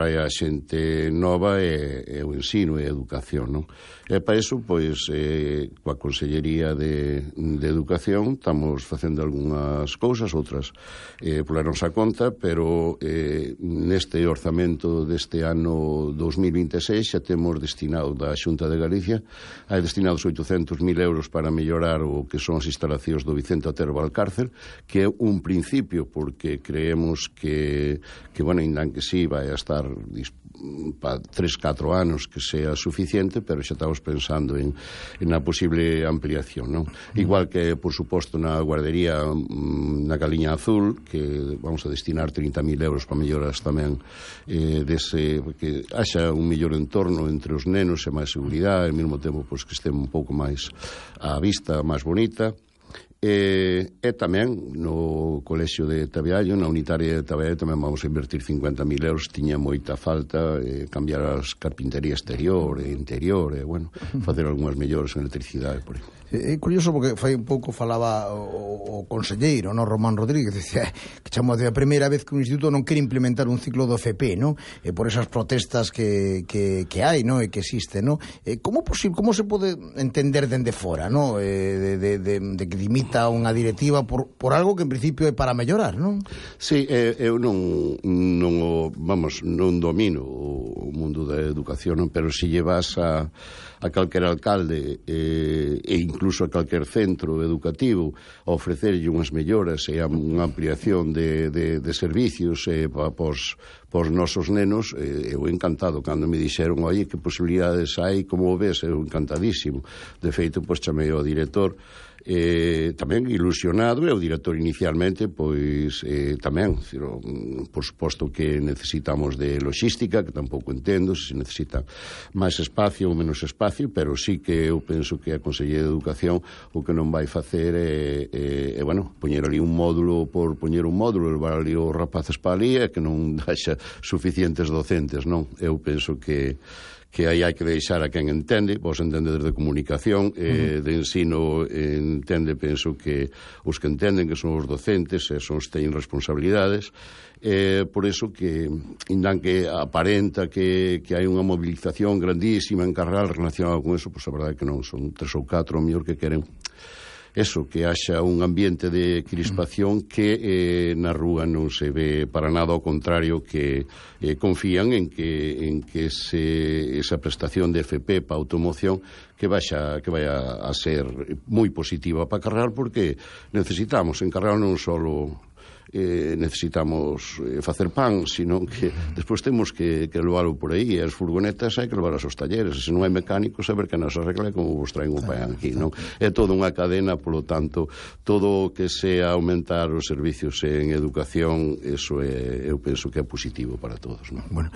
a xente nova e o ensino e a educación, non? E para iso, pois, coa Consellería de Educación estamos facendo algunhas cousas, outras pola nosa conta, pero neste orzamento deste ano 2026 xa temos destinado da Xunta de Galicia, hai destinados 800.000 euros para mellorar o que son as instalacións do Vicente Otero Valcárcel, que é un principio, porque creemos que bueno, ainda que sí, vai a estar para 3-4 anos que sea suficiente, pero xa estamos pensando en a posible ampliación, non? Igual que, por suposto, na guardería na Galiña Azul, que vamos a destinar 30.000 euros para melloras tamén que haxa un mellor entorno entre os nenos e máis seguridade, e ao mesmo tempo pois, que este un pouco máis á vista, máis bonita. E tamén no colexio de Tabeallo, na unitaria de Tabeallo, tamén vamos a invertir 50.000 euros. Tiña moita falta cambiar as carpintería exterior e interior, e, bueno, facer algunhas mellores en electricidade, por aí. É curioso porque fai un pouco falaba o conselleiro, no, Román Rodríguez, decía que chamou a primeira vez que un instituto non quere implementar un ciclo do FP, no? E por esas protestas que hai, no? E que existe, no? Como se pode entender dende fora, no? De que dimita unha directiva por algo que en principio é para mellorar, non? Sí, eu non domino o mundo da educación, non? Pero se llevas a calquer alcalde e incluso a calquer centro educativo a ofrecerlle unhas melloras e unha ampliación de servicios pos nosos nenos, eu encantado. Cando me dixeron, oye, que posibilidades hai, como o ves, eu encantadísimo. De feito, pois chamei ao director tamén ilusionado, e o director inicialmente pois tamén, por suposto que necesitamos de logística, que tampouco entendo se necesita máis espacio ou menos espacio, pero sí que eu penso que a Consellería de Educación o que non vai facer é bueno, poñer ali un módulo por poñer un módulo, levar ali os rapaces para ali, e que non haxa suficientes docentes, non? Eu penso que aí hai que deixar a quen entende. Vos entende desde comunicación, de ensino entende, penso que os que entenden que son os docentes e son os que teñen responsabilidades, por iso que indan que aparenta que hai unha movilización grandísima en Carral relacionada con eso, pois a verdade é que non, son 3 ou 4 o mellor que queren eso, que haxa un ambiente de crispación que na rúa non se ve para nada, ao contrario, que confían en que esa prestación de FP para automoción que vaya a ser moi positiva para Carral, porque necesitamos en Carral non só necesitamos facer pan, sino que despois temos que leválo por aí, e as furgonetas hai que levar aos talleres, e se non hai mecánicos, saber que non se arregla como vos traen o pan aquí, non? É toda unha cadena, polo tanto, todo o que sea aumentar os servicios en educación, eso eu penso que é positivo para todos, non? Bueno,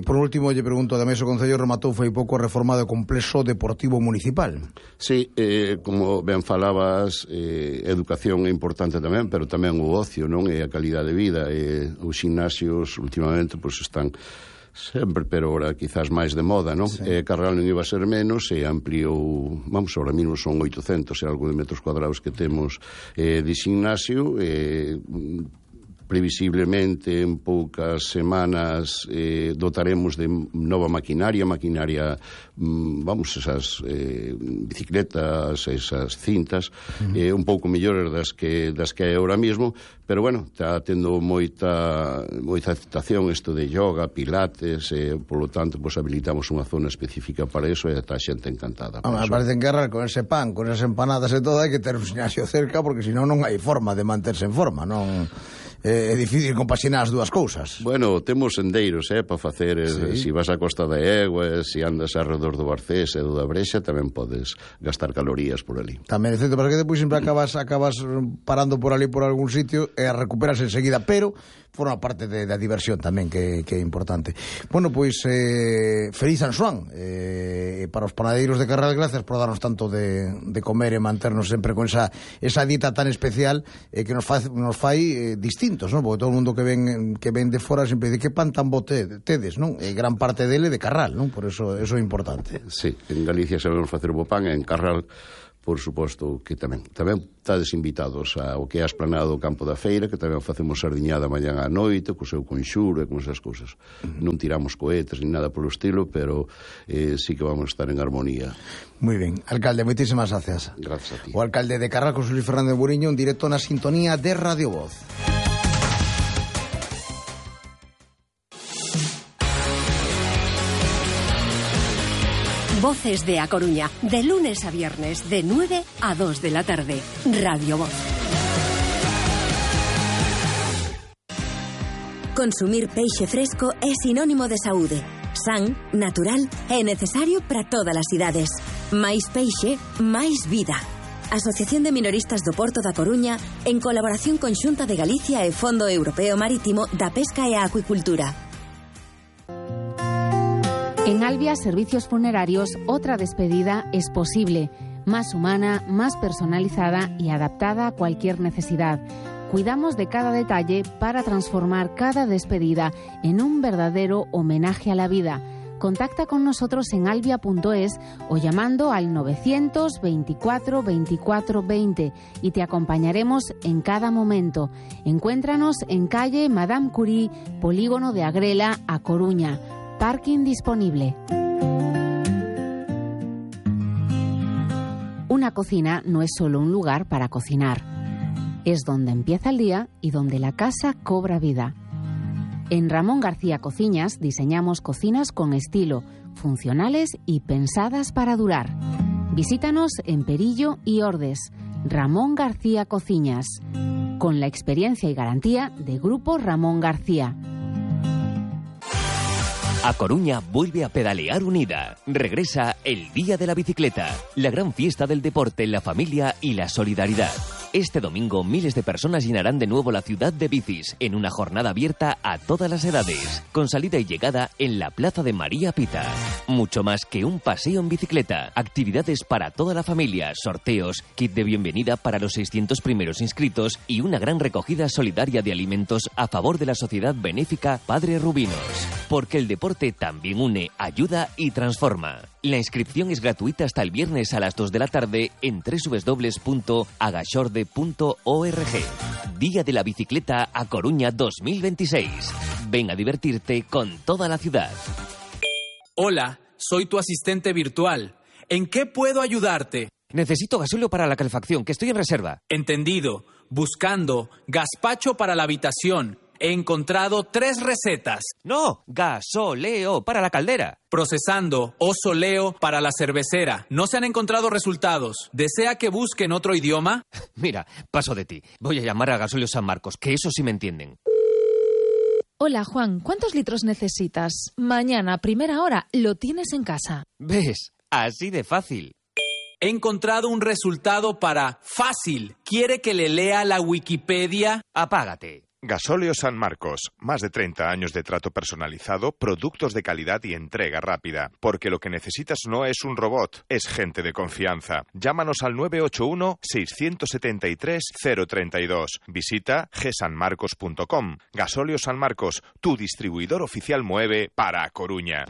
por último, lle pregunto, ademais o Concello rematou foi pouco reformado o complexo deportivo municipal. Sí, como ben falabas, educación é importante tamén, pero tamén o ocio, non? E a calidade de vida, e os gimnasios últimamente pois están sempre, pero ahora quizás máis de moda, non? Sí. Carral non iba a ser menos, e ampliou, vamos, ahora mismo son 800 e algo de metros cuadrados que temos de gimnasio, previsiblemente en poucas semanas dotaremos de nova maquinaria, vamos, esas bicicletas, esas cintas, un pouco mellores das que hai ahora mismo, pero bueno, está tendo moita aceptación isto de yoga, pilates, polo tanto, pues, habilitamos unha zona específica para eso, e está a xente encantada. Me parece en Carral, con ese pan, con esas empanadas e todo, hai que ter un gimnasio cerca, porque senón non hai forma de manterse en forma, non? É difícil compaxinar as dúas cousas. Bueno, temos sendeiros para facer, si vas a Costa da Egua, si andas alrededor do Barcés e do da Brexa, tamén podes gastar calorías por ali. Tamén é certo, porque depois sempre acabas parando por ali por algún sitio e a recuperas enseguida, pero forma parte da diversión tamén, que é importante. Bueno, pois feliz San Xoán para os panadeiros de Carral, gracias por darnos tanto de comer e manternos sempre con esa dieta tan especial que nos fai distintos, non? Porque todo o mundo que ven de fora sempre dice que pan tan bo tedes, non? E gran parte dele de Carral, non? Por eso é importante. Sí, en Galicia sabemos facer bo pan, en Carral por suposto que tamén estades invitados ao que é a esplanada do Campo da Feira, que tamén facemos sardiñada mañá á noite, co seu conxuro e con esas cousas. Non tiramos cohetes ni nada polo estilo, pero sí que vamos a estar en armonía. Moi ben. Alcalde, moitísimas gracias. Gracias a ti. O alcalde de Carrascos, Luis Fernández Buriño, en directo na sintonía de Radio Voz. Voces de A Coruña, de lunes a viernes, de 9 a 2 de la tarde. Radio Voz. Consumir peixe fresco é sinónimo de saúde. San, natural e necesario para todas as idades. Máis peixe, máis vida. Asociación de Minoristas do Porto da Coruña, en colaboración con Xunta de Galicia e Fondo Europeo Marítimo da Pesca e a Acuicultura. En Albia Servicios Funerarios, otra despedida es posible, más humana, más personalizada y adaptada a cualquier necesidad. Cuidamos de cada detalle para transformar cada despedida en un verdadero homenaje a la vida. Contacta con nosotros en albia.es o llamando al 924 24 20 y te acompañaremos en cada momento. Encuéntranos en calle Madame Curie, Polígono de Agrela, A Coruña. Parking disponible. Una cocina no es solo un lugar para cocinar. Es donde empieza el día y donde la casa cobra vida. En Ramón García Cociñas diseñamos cocinas con estilo, funcionales y pensadas para durar. Visítanos en Perillo y Ordes. Ramón García Cociñas. Con la experiencia y garantía de Grupo Ramón García. A Coruña vuelve a pedalear unida. Regresa el Día de la Bicicleta, la gran fiesta del deporte, la familia y la solidaridad. Este domingo miles de personas llenarán de nuevo la ciudad de bicis en una jornada abierta a todas las edades, con salida y llegada en la Plaza de María Pita. Mucho más que un paseo en bicicleta, actividades para toda la familia, sorteos, kit de bienvenida para los 600 primeros inscritos y una gran recogida solidaria de alimentos a favor de la sociedad benéfica Padre Rubinos. Porque el deporte también une, ayuda y transforma. La inscripción es gratuita hasta el viernes a las 2 de la tarde en www.agashorde.org. Día de la Bicicleta A Coruña 2026. Ven a divertirte con toda la ciudad. Hola, soy tu asistente virtual. ¿En qué puedo ayudarte? Necesito gasóleo para la calefacción, que estoy en reserva. Entendido. Buscando gazpacho para la habitación. He encontrado 3 recetas. No, gasoleo para la caldera. Procesando osoleo para la cervecera. No se han encontrado resultados. ¿Desea que busque en otro idioma? Mira, paso de ti. Voy a llamar a Gasolio San Marcos, que eso sí me entienden. Hola, Juan. ¿Cuántos litros necesitas? Mañana, a primera hora, lo tienes en casa. ¿Ves? Así de fácil. He encontrado un resultado para fácil. ¿Quiere que le lea la Wikipedia? Apágate. Gasóleo San Marcos. Más de 30 años de trato personalizado, productos de calidad y entrega rápida. Porque lo que necesitas no es un robot, es gente de confianza. Llámanos al 981-673-032. Visita gsanmarcos.com. Gasóleo San Marcos, tu distribuidor oficial Moeve para A Coruña.